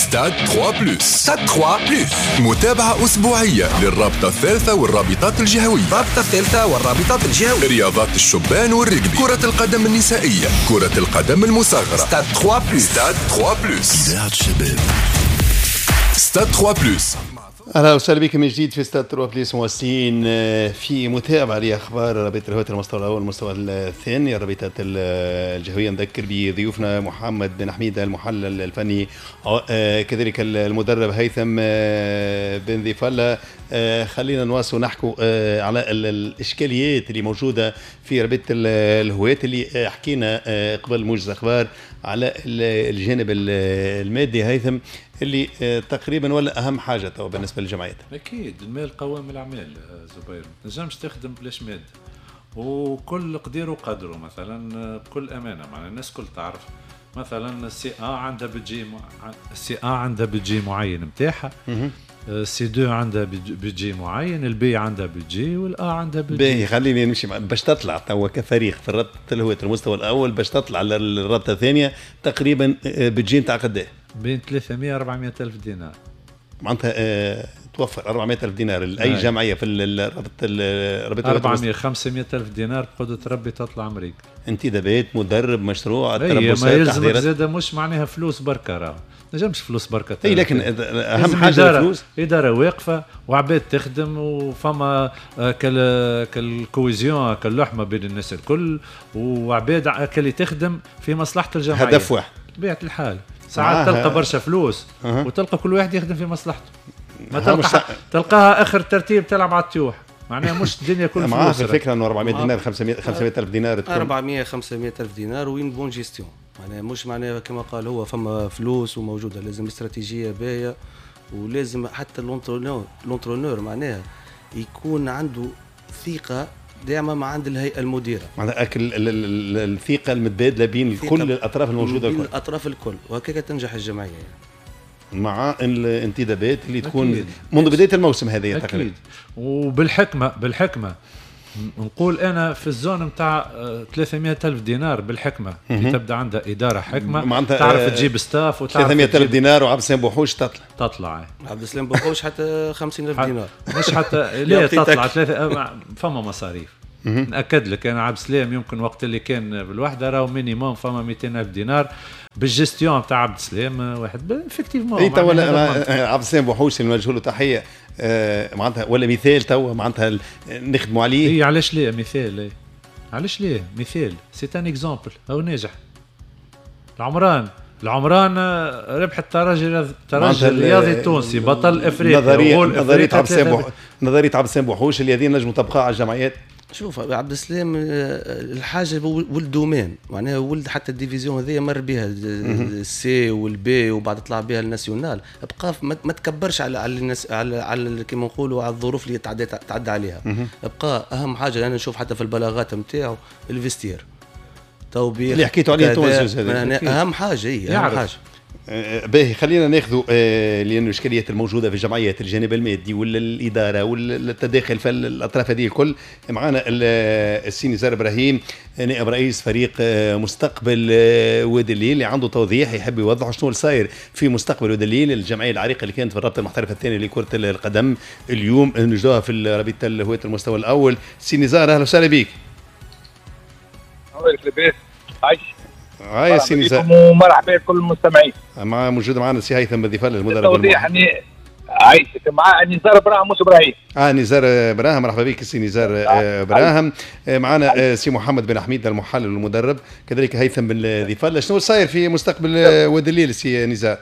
ستاد 3 plus، ستاد 3 plus، متابعة أسبوعية للرابطة الثالثة والرابطات الجهوية، الرابطة الثالثة والرابطات الجهوية، رياضات الشبان والرجبي، كرة القدم النسائية، كرة القدم المصغرة. ستاد 3 plus، ستاد 3 plus، إذاعة الشباب، ستاد 3 plus. اهلا وسهلا بكم من جديد في ستاد 3 plus، مواصلين في متابعه لاخبار رابطه الهواة المستوى الاول والمستوى الثاني، الرابطات الجهويه. نذكر بضيوفنا محمد بن حميده المحلل الفني، كذلك المدرب هيثم بن ضيف الله. خلينا نواصل نحكوا على الاشكاليات اللي موجودة في رابطه الهواة اللي حكينا قبل موجز اخبار على الجانب المادي هيثم، اللي تقريبا ولا اهم حاجة تو بالنسبة للجمعيات. اكيد المال قوام الاعمال زبير، ما تنجمش تخدم بلاش مادة، وكل قدير وقدره. مثلا بكل امانه معنا الناس كل تعرف، مثلا ال C1 عندها budget، ال C1 عندها budget معين نتاعها، C 2 عندها budget معين، ال B عندها budget، وال A عندها budget. باهي خليني نمشي باش تطلع توا كفريق في رابطه الهواة المستوى الاول، باش تطلع للرابطة الثانية تقريبا budget نتاع قداه؟ بين 300 400 الف دينار. معناتها توفر 400 الف دينار لاي جمعية في الرابطة؟ 400 500 الف دينار بقدره ربي تطلع امريكا. انتدابات، مدرب، مشروع، تربصات، ما يلزمك زاده مش معناها فلوس بركة، راه نجمش فلوس بركة. اي لكن اهم حاجة الفلوس، ادارة واقفة وعباد تخدم، وفما كال cohésion، كاللحمه بين الناس الكل، وعباد كاللي تخدم في مصلحة الجمعية، هدف واحد. بطبيعة الحال ساعات تلقى برشا فلوس وتلقى كل واحد يخدم في مصلحته، ما تلقى تلقاها اخر ترتيب تلعب على الطيوح، معناها مش الدنيا كل فلوس. معاه الفكرة انه 400 دينار 500 الف دينار، 400 500 الف دينار و une bonne gestion، معناها مش معناها كما قال هو فما فلوس وموجودة، لازم استراتيجية باهيه، ولازم حتى l'entraîneur معناها يكون عنده ثقة دائما مع عند الهيئة المديرة، معناها الثقة المتبادلة بين كل الاطراف الموجودة، بين الاطراف الكل، وهكذا تنجح الجمعية يعني. مع الانتدابات اللي تكون أكيد. منذ بداية الموسم هذه تقريبا. وبالحكمه، بالحكمة نقول انا في ال zone نتاع 300 الف دينار بالحكمة، كي تبدا عندها ادارة حكمه تعرف تجيب staff وتعرف 300 الف دينار، وعبد السلام بوحوش تطلع عبد السلام بوحوش حتى 50 الف دينار مش حتى لا تطلع ثلاثة، فما مصاريف. ناكد لك انا عبد السلام يمكن وقت اللي كان بالوحدة راهو minimum فما 200 الف دينار بالجستيون تاع عبد السلام واحد effectivement. اي تو عبد السلام بوحوش اللي نوجه له تحية، معناتها ولا مثال تو معناتها نخدموا عليه. اي علاش ليه مثال؟ اي علاش ليه مثال؟ c'est un exemple، هو ناجح. العمران ربح الترجي الرياضي التونسي بطل افريقيا. نظرية عبد السلام، نظرية عبد السلام بوحوش اللي هذه نجم نطبقها على الجمعيات. شوف عبد السلام الحاجة ولد domaine، معناها ولد حتى ال division هذيا مر بها ال C وال B وبعد طلع بها ال national، بقى ما تكبرش على الناس، على كيما نقولوا على الظروف اللي تعدى عليها. بقى اهم حاجة انا نشوف حتى في البلاغات نتاعو ال vestiaire توبيخ اللي حكيتوا عليه انتم هذا اهم حاجة، هي اهم حاجة. باهي خلينا ناخذوا لأن الاشكاليات الموجودة في الجمعيات، الجانب المادي ولا الادارة ولا التداخل في الاطراف هذه الكل. معنا السي نزار ابراهيم نائب رئيس فريق مستقبل وادي الليل، اللي عنده توضيح يحب يوضح شنو صاير في مستقبل وادي الليل، الجمعية العريقه اللي كانت في الرابطة المحترفه الثانية لكرة القدم، اليوم نجدوها في رابطه الهواة المستوى الاول. سي نزار اهلا وسهلا بك. لاباس عايش. هاي سي نزار ومرحبا بكل المستمعين. مع موجود معنا سي هيثم بن ضيف الله المدرب. التوضيح اني عايشك مع نزار ابراهيم مش ابراهيم. نزار ابراهيم، مرحبا بك سي نزار ابراهيم. معنا سي محمد بن حميد المحلل والمدرب، كذلك هيثم بن ضيف الله. شنو صاير في مستقبل وادي الليل سي نزار؟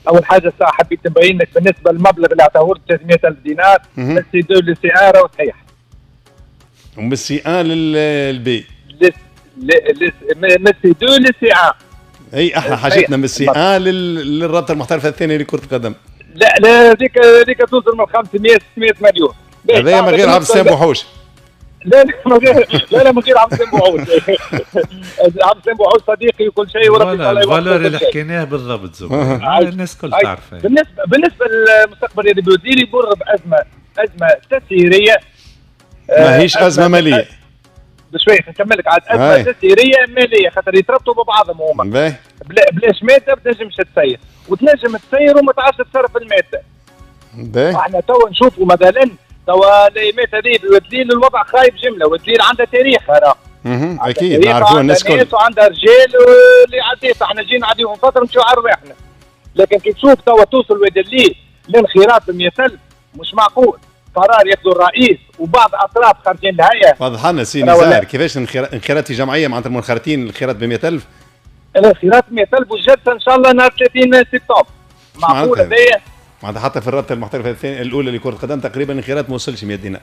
اول حاجة الساعة حبيت نبين لك بالنسبة للمبلغ اللي عطاه 300,000 دينار من C 2 لل C 1 راهو صحيح. ومن C 1 لل B. من C 2 لل C 1. اي احنا حاجتنا من C 1 للرابطة المحترفه الثانية لكرة القدم. لا لا هذيك توصل من 500 600 مليون. هذايا من غير عبد السلام بوحوش. لا لا من غير، لا لا من غير عبد السلام بوحوش. عبد السلام بوحوش صديقي وكل شيء وربي تعالى يوفقه. ال valeur اللي حكيناه بالضبط زبير الناس الكل تعرفها. بالنسبة للمستقبل الرياضي بوزير يمر بازمه تسييريه، ماهيش ازمة ماليه. بشوية نكمل لك عاد ازمة تسييريه ماليه، خاطر يتربطوا ببعضهم هما. بلاش مادة ما تنجمش تسير، وتنجم تسير وما تعرفش تصرف المادة. احنا توا نشوفوا مثلا توا الايامات هذه بواد الليل الوضع خايب جملة، واد الليل عندها تاريخ راه. اكيد نعرفوها الناس الكل، وعندها رجال اللي عديت، احنا جينا عديهم فترة نمشيو على رواحنا. لكن كي تشوف توا توصل واد الليل لانخراط 100,000 مش معقول. قرار ياخذوا الرئيس وبعض اطراف خارجين الهيئة. واضح لنا سي نزار كيفاش انخراط في جمعية معناتها المنخرطين الانخراط ب 100,000؟ الانخراط 100,000 والجلسه ان شاء الله نهار 30 سبتمبر. معقول هذايا؟ معناتها حتى في الرابطة المحترفه الثانية الاولى لكرة القدم تقريبا الانخراط ما وصلش 100 دينار.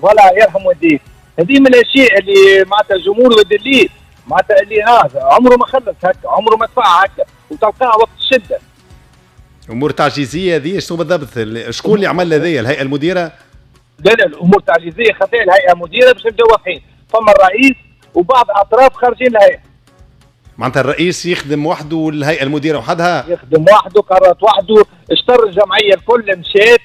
voilà يرحم والديك. هذه من الاشياء اللي معناتها الجمهور واد الليل معناتها اللي هذا عمره ما خلص هكا، عمره ما دفع هكا، وتلقاه وقت الشدة. امور تعجيزية هذه شنو بالضبط؟ شكون اللي عمل هذه؟ الهيئة المديرة؟ لا لا، الامور التعجيزيه خاطئ الهيئة المديرة باش نبداو واضحين، فما الرئيس وبعض اطراف خارجين الهيئة. معناتها الرئيس يخدم وحده والهيئة المديرة وحدها؟ يخدم وحده، قررت وحده، اشتر الجمعية الكل مشات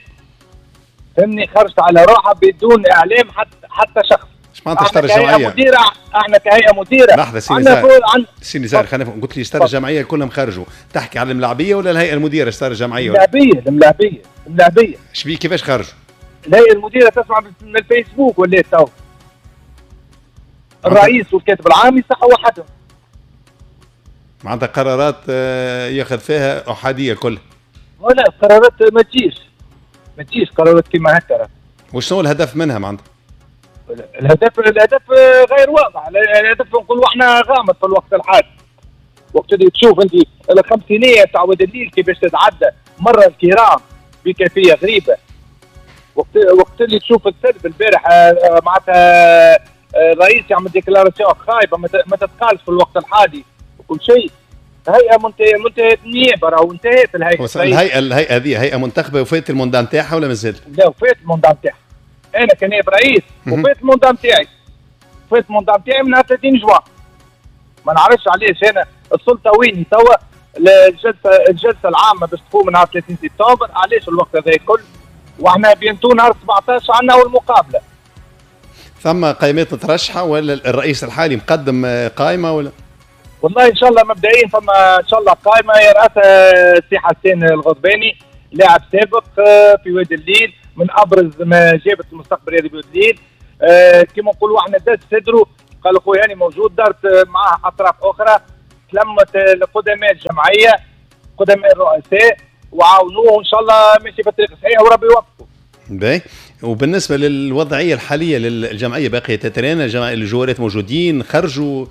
فهمني، خرجت على روحها بدون اعلام حتى شخص. ايش معناتها اشترى الجمعية؟ مديرة، احنا كهيئة مديره. لحظة سي نزار، سي نزار خلينا قلت لي اشترى الجمعية كلهم خرجوا، تحكي على الملاعبيه ولا الهيئة المديرة اشترى الجمعية؟ الملاعبيه الملاعبيه الملاعبيه. شبيه كيفاش خرجوا؟ الهيئة المديرة تسمع من الفيسبوك ولا تو. الرئيس والكاتب العام يصحوا وحدهم. معناتها قرارات ياخذ فيها احادية كلها. ولا قرارات ما تجيش، ما تجيش قرارات كيما هكا. وشنو الهدف منها معناتها؟ الهدف غير واضح، الهدف نقولوا احنا غامض في الوقت الحالي. وقت اللي تشوف انت الخمسينيه تاع واد الليل كيفاش تتعدى مرة الكرام بكيفية غريبة. وقت اللي تشوف السلب البارح معناتها الرئيس يعمل déclaration خايبة ما تتقالش في الوقت الحالي وكل شيء. هيئة منتهية النيابة راهو انتهت الهيئة. الهيئة هذه هيئة منتخبه وفات ال mandat نتاعها ولا مازال؟ لا وفات ال mandat نتاعها. انا كنائب رئيس وفات ال mandat نتاعي. وفات ال mandat نتاعي من 30 جوان. ما نعرفش علاش انا السلطة ويني توا الجلسة العامة باش تقوم نهار 30 سبتمبر، علاش الوقت هذا الكل؟ واحنا bientôt نهار 17 عندنا اول مقابله. ثم قائمات مترشحه ولا الرئيس الحالي مقدم قائمة ولا؟ والله ان شاء الله مبدئيا فما ان شاء الله قائمة يرأسها السي حسين الغضباني، لاعب سابق في وادي الليل، من ابرز ما جابت المستقبل الرياضي بوادي الليل. كما نقولوا احنا داز صدره، قال خويا هاني موجود، دارت معاه اطراف اخرى، تلمت القدماء الجمعية، قدماء الرؤساء، وعاونوه وان شاء الله ماشي في الطريق الصحيح وربي يوفقه. باهي، وبالنسبة للوضعيه الحالية للجمعية باقية تترينا، الجوارات موجودين خرجوا؟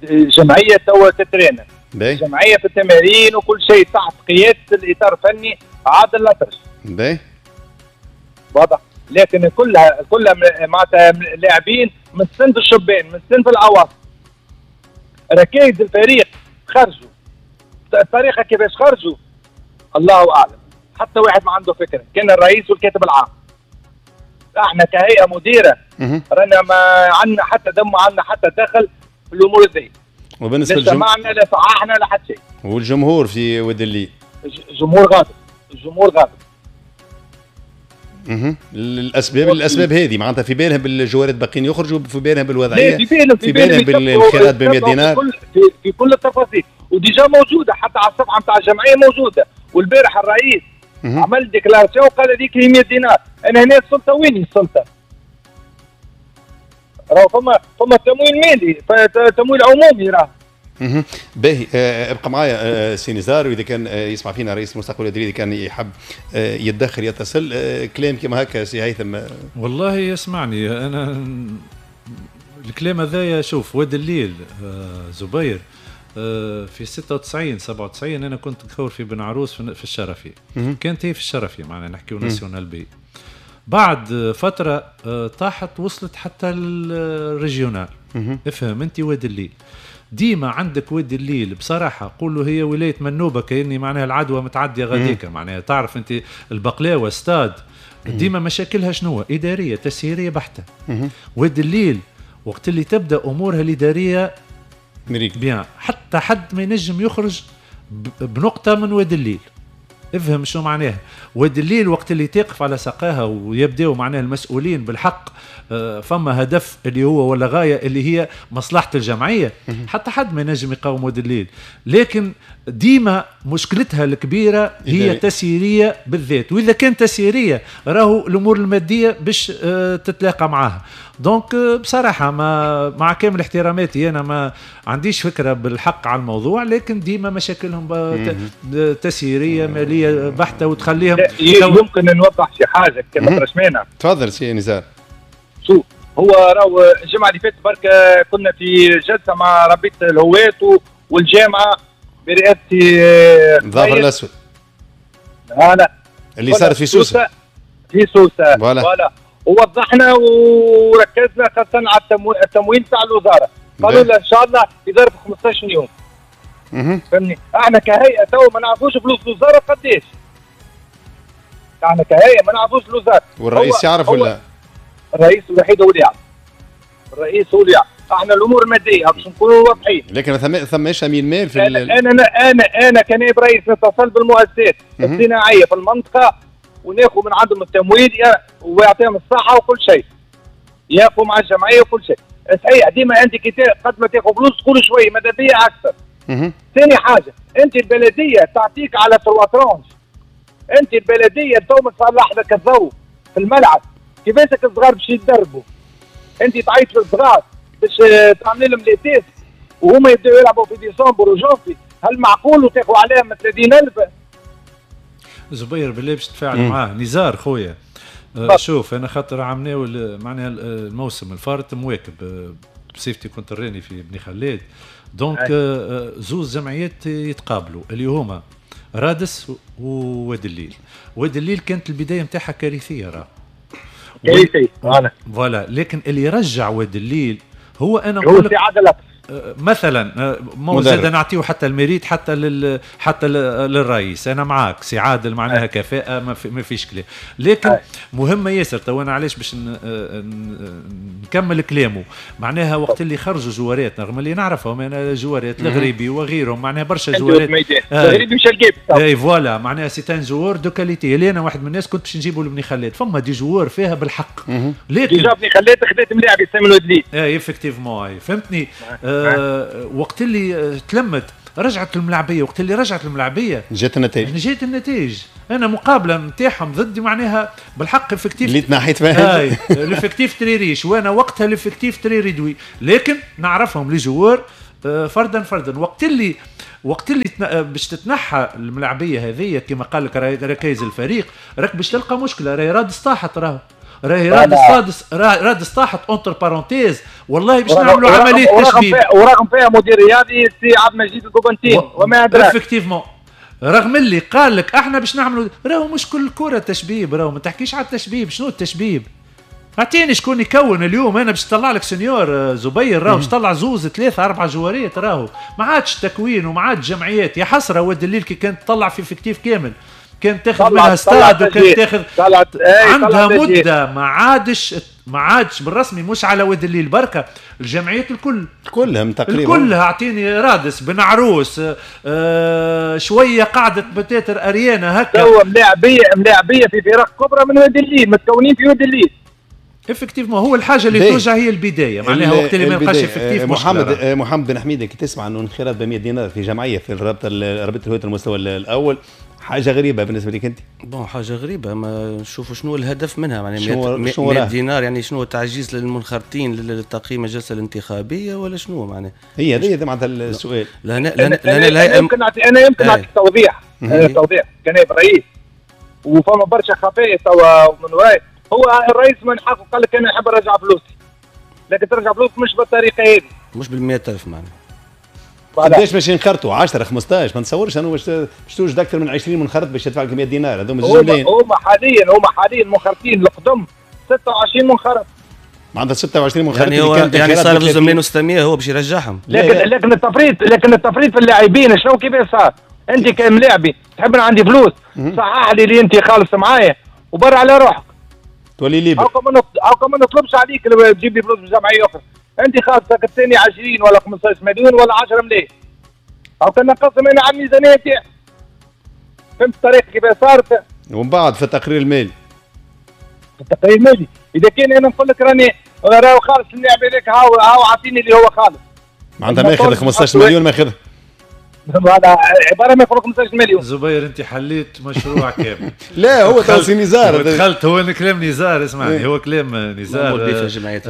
الجمعية توا تترينا. الجمعية في التمارين وكل شيء تحت قيادة الاطار الفني عادل الأطرش. باهي. واضح، لكن كلها معناتها لاعبين من صنف الشبان، من صنف الاواسط. ركائز الفريق خرجوا. الطريقة كيفاش خرجوا؟ الله اعلم، حتى واحد ما عنده فكرة، كان الرئيس والكاتب العام. احنا كهيئة مديره رانا ما عندنا حتى دم، ما عندنا حتى دخل في الامور ذي. وبالنسبة للجمهور لا سمعنا لا صححنا لا حتى شيء. والجمهور في واد الليل؟ الجمهور غاضب، الجمهور غاضب. الاسباب هذه معناتها في بالهم بالجوارات باقيين يخرجوا، في بالهم بالوضعيه، في بالهم بالانخراط ب 100 دينار، في كل التفاصيل، و déjà موجودة حتى على الصفحة نتاع الجمعية موجودة. والبارح الرئيس عمل déclaration وقال هذيك هي 100 دينار. انا هنا السلطة وين السلطة؟ راهو فما تمويل مالي، تمويل عمومي راه. باهي، ابقى معايا سي نزار، واذا كان يسمع فينا رئيس المستقبل الاداري كان يحب يتدخل يتصل. كلام كما هكا سي هيثم. والله يسمعني انا الكلام هذايا. شوف واد الليل زبير في 96 97 انا كنت نكور في بن عروس في الشرفي. كانت هي في الشرفي معنا نحكيو nationale B. بعد فترة طاحت وصلت حتى ال régional. افهم انت واد الليل ديما عندك واد الليل بصراحة قولوا هي ولاية منوبه كاني معناها العدوى متعدية غاديكا، معناها تعرف انت البقلاوه ستاد ديما مشاكلها شنو؟ ادارية تسييريه بحته. واد الليل وقت اللي تبدا امورها الادارية bien، حتى حد ما ينجم يخرج بنقطة من واد الليل. افهم شو معناها. وادي الليل وقت اللي تقف على ساقاها ويبداو معناها المسؤولين بالحق، فما هدف اللي هو ولا غاية اللي هي مصلحة الجمعية، حتى حد ما ينجم يقاوم وادي الليل. لكن ديما مشكلتها الكبيرة هي تسييريه بالذات، واذا كان تسييريه راهو الامور المادية باش تتلاقى معاها. donc بصراحة ما مع كامل احتراماتي انا ما عنديش فكرة بالحق على الموضوع، لكن ديما مشاكلهم تسييريه ماليه بحته وتخليهم. يمكن نوضح شي حاجة كما رشمانه. تفضل سي نزار. شوف، هو راهو الجمعة اللي فاتت برك كنا في جلسه مع رابطه الهواة والجامعة برئاسة ظافر الاسود. voilà اللي صارت في سوسة. في سوسة voilà، ووضحنا وركزنا خاصة على التمويل تاع الوزارة. قالوا لنا ان شاء الله في ظرف 15 يوم. فهمني؟ احنا كهيئة تو ما نعرفوش فلوس الوزارة قداش. احنا كهيئة ما نعرفوش الوزارة. والرئيس يعرف ولا؟ الرئيس الوحيد هو اللي يعرف. الرئيس هو اللي يعرف. احنا الامور المادية باش نكونوا واضحين. لكن ما ثماش امين مال في انا كنائب رئيس نتصل بالمؤسسات الصناعية في المنطقة وناخذ من عندهم التمويل ويعطيهم الصحة وكل شيء. ياخذوا مع الجمعية وكل شيء. صحيح ديما انت كي قد ما تاخذ فلوس تقول شوية ماذا بيا اكثر. ثاني حاجة، انت البلدية تعطيك على 3 tranches. انت البلدية تو تصلح لك الضوء في الملعب، كيفاش الصغار باش يتدربوا؟ انت تعيط للصغار باش تعمل لهم les tests وهما يبداو يلعبوا في ديسمبر وجونفي، هل معقول وتاخذ عليهم 30,000؟ زبير بالله باش تفاعل معاه نزار خويا. شوف انا خاطر عمناول معناها الموسم الفارط مواكب بصفتي كنت راني في بني خلاد، donc زوز جمعيات يتقابلوا اللي هما رادس ووادي الليل. وادي الليل كانت البداية نتاعها كارثية، راه كارثية voilà، لكن اللي رجع وادي الليل هو انا نقول لك مثلا مو زاد نعطيه حتى ال mérite حتى حتى للرئيس. انا معاك سي عادل معناها كفاءة ما فيش كلام، لكن مهمة ياسر. تو انا علاش باش نكمل كلامه، معناها وقت اللي خرجوا جوارات رغم اللي نعرفهم انا جوارات الغريبي وغيرهم، معناها برشا جوارات الغريبي مشى الجيب اي voilà، معناها c'est un joueur de qualité اللي انا واحد من الناس كنت باش نجيبه لبني خلاد. فما des joueurs فيها بالحق، لكن déjà بني خلاد خذات ملاعب يستعملوا الدليل اي effectivement فهمتني. وقت اللي تلمت رجعت الملاعبيه، وقت اللي رجعت الملاعبيه جات النتائج، جات النتائج. انا مقابله نتاعهم ضدي معناها بالحق effectif اللي تنحيت فيها l'effectif très riche، وانا وقتها l'effectif très réduit، لكن نعرفهم les joueurs فردا فردا. وقت اللي باش تتنحى الملاعبيه هذه كما قال لك ركائز الفريق، راك باش تلقى مشكلة. راهي رادس طاحت، راهي رادس طاحت entre parenthèses، والله باش نعملوا عملية تشبيب. ورغم فيها مدير رياضي سي عبد المجيد القبنطين وما ادراك effectivement، رغم اللي قال لك احنا باش نعملوا، راهو مش كل كره تشبيب، راهو ما تحكيش على التشبيب. شنو التشبيب؟ اعطيني شكون يكون اليوم. انا باش نطلع لك senior زبير، راهو باش تطلع زوز ثلاثة اربعة جواريات، راهو ما عادش تكوين وما عادش جمعيات. يا حسرة وادي الليل كي كانت تطلع في effectif كامل، كانت تاخذ منها ستاد وكانت تاخذ عندها مده ما عادش بالرسمي. مش على وادي الليل بركة، الجمعيات الكل كلهم تقريبا كلها. اعطيني رادس بن عروس شوية قعدت بتاتر اريانا هكا، هو ملاعبيه في فرق كبرى من وادي الليل، متكونين في وادي الليل effectivement. هو الحاجة اللي توجع هي البداية، معناها وقت اللي ما يبقاش effectif. محمد بن حميده كي تسمع انه انخراط ب 100 دينار في جمعية في الرابطة رابطه الهواة المستوى الاول، حاجة غريبة بالنسبة لك انت؟ bon حاجة غريبة، ما نشوفوا شنو الهدف منها، معناها 100 دينار يعني شنو تعجيز للمنخرطين لتقييم الجلسة الانتخابية ولا شنو معناها؟ هي هذه معناتها السؤال. لا لا لا يمكن انا يمكن نعطيك توضيح، توضيح كنائب رئيس وفما برشا خفايا توا من وراي. هو الرئيس من حقه قال لك انا نحب نرجع فلوسي، لكن ترجع فلوس مش بالطريقة هذه، مش بال 100000 معناها. قداش باش ينخرطوا؟ 10 15 ما نتصورش انه باش توجد اكثر من 20 منخرط باش يدفع لك 100 دينار. هذوما زوج. هما حاليا منخرطين القدم 26 منخرط، معناتها 26 منخرط يعني هو يعني صار 2 مليون و600 هو باش يرجعهم. لكن التفريط في اللاعبين شنو كيفاش صار؟ انت كملاعبي تحب انا عندي فلوس، صحح لي اللي انت خالص معايا وبر على روحك تولي libre. هاكا ما نطلبش عليك تجيب لي فلوس من جمعية اخرى، انت خالصك الثاني 20 ولا 15 مليون ولا 10 ملايين، هاكا نقسم انا على الميزانية تاعي. فهمت الطريقة كيف صارت؟ ومن بعد في التقرير المالي. في التقرير المالي اذا كان انا نقول لك راني راهو خالص اللاعب هذاك، هاو عاطيني اللي هو خالص. معناتها ماخذ 15 مليون ماخذ. هذا عبارة ما يخرج 15 مليون. زبير انت حليت مشروع كامل. لا هو تو نزار دخلت، هو كلام نزار، اسمعني هو كلام نزار معمول به في الجمعيات،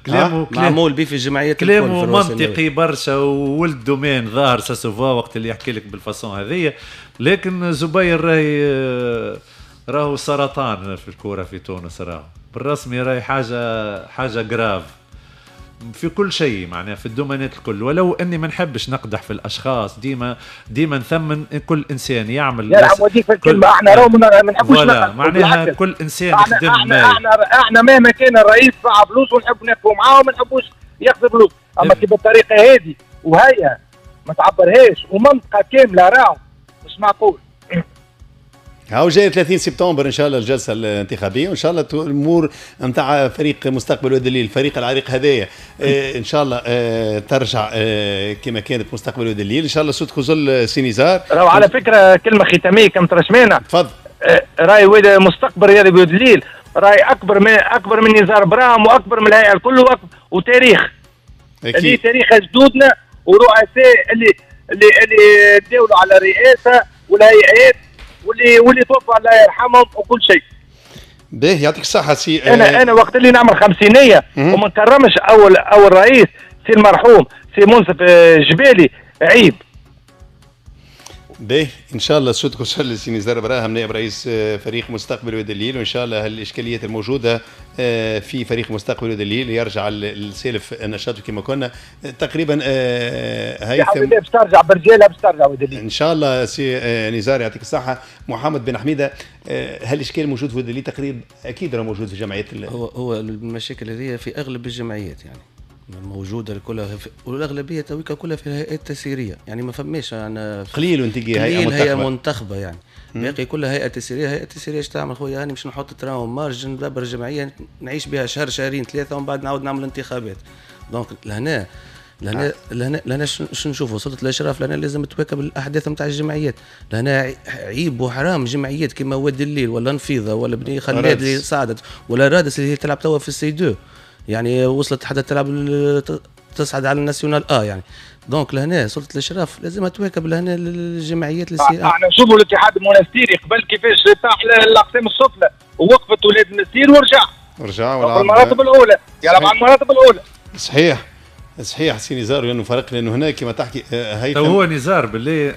كلامه معمول به في الجمعيات، كلامه منطقي برشا وولد domaine ظاهر ça se voit وقت اللي يحكي لك بال façon هذيا. لكن زبير راهي راهو سرطان في الكورة في تونس، راهو بالرسمي راهي حاجة grave في كل شيء، معناها في ال domaine ات الكل. ولو اني ما نحبش نقدح في الاشخاص، ديما نثمن كل انسان يعمل. يلعب وديك في الكلمة، احنا راهو ما نحبوش نقدح، معناها كل انسان يخدم. احنا مهما كان الرئيس دفع فلوس ونحب ناخذوا معاه وما نحبوش ياخذ فلوس، اما كي بالطريقة هذه وهي ما تعبرهاش ومنطقة كاملة راهو مش معقول. هاو جاي 30 سبتمبر ان شاء الله الجلسة الانتخابية، وان شاء الله الامور نتاع فريق مستقبل واد الليل، الفريق العريق هذايا ان شاء الله ترجع كما كانت مستقبل واد الليل ان شاء الله. صوتك وصل سي نزار. راهو على فكرة كلمة ختامية كم ترشمينا. تفضل. راي واد مستقبل رياضي واد الليل راي اكبر من نزار براهم واكبر من الهيئة الكل وتاريخ. اكيد تاريخ جدودنا ورؤساء اللي اللي اللي داولوا على الرئاسة والهيئات واللي توفى الله يرحمهم وكل شيء. باهي يعطيك الصحة سي. انا وقت اللي نعمل خمسينية وما نكرمش اول رئيس سي المرحوم سي منصف جبالي، عيب. باهي ان شاء الله صوتك وصل لسي نزار براهم نائب رئيس فريق مستقبل واد الليل، وان شاء الله الاشكاليات الموجودة في فريق مستقبل واد الليل يرجع السالف نشاطه كما كنا تقريبا. هيثم باش ترجع برجالها، باش ترجع واد الليل ان شاء الله. سي نزار يعطيك الصحة. محمد بن حميده، هل الاشكال موجود في واد الليل؟ تقريبا اكيد راه موجود في جمعيات هو المشاكل هذه في اغلب الجمعيات يعني موجودة كلها، والاغلبيه تويكا كلها في الهيئات التسييريه، يعني ما فماش يعني قليل وانت هيئة منتخبه يعني باقي كلها هيئة تسييريه. هيئة تسييريه اش تعمل خويا؟ هاني باش نحط train en marche ندبر جمعية نعيش بها شهر شهرين ثلاثة ومن بعد نعاود نعمل انتخابات. donc لهنا لهنا لهنا لهنا شنو نشوفوا؟ سلطة الاشراف لهنا لازم تواكب الاحداث نتاع الجمعيات. لهنا عيب وحرام جمعيات كما واد الليل ولا نفيضه ولا بني خلاد اللي صعدت ولا رادس اللي هي تلعب توا في ال C2، يعني وصلت حتى تلعب تصعد على ال nationale A يعني. donc لهنا سلطة الاشراف لازم تواكب لهنا الجمعيات اللي احنا نشوفوا الاتحاد المونستيري قبل كيفاش طاح الاقسام السفلى ووقفت ولاد المنستير ورجع ولعب المراتب الاولى، يلعب على المراتب الاولى. صحيح صحيح سي نزار، لانه فرق لانه هناك كما تحكي هيثم هو نزار بالله.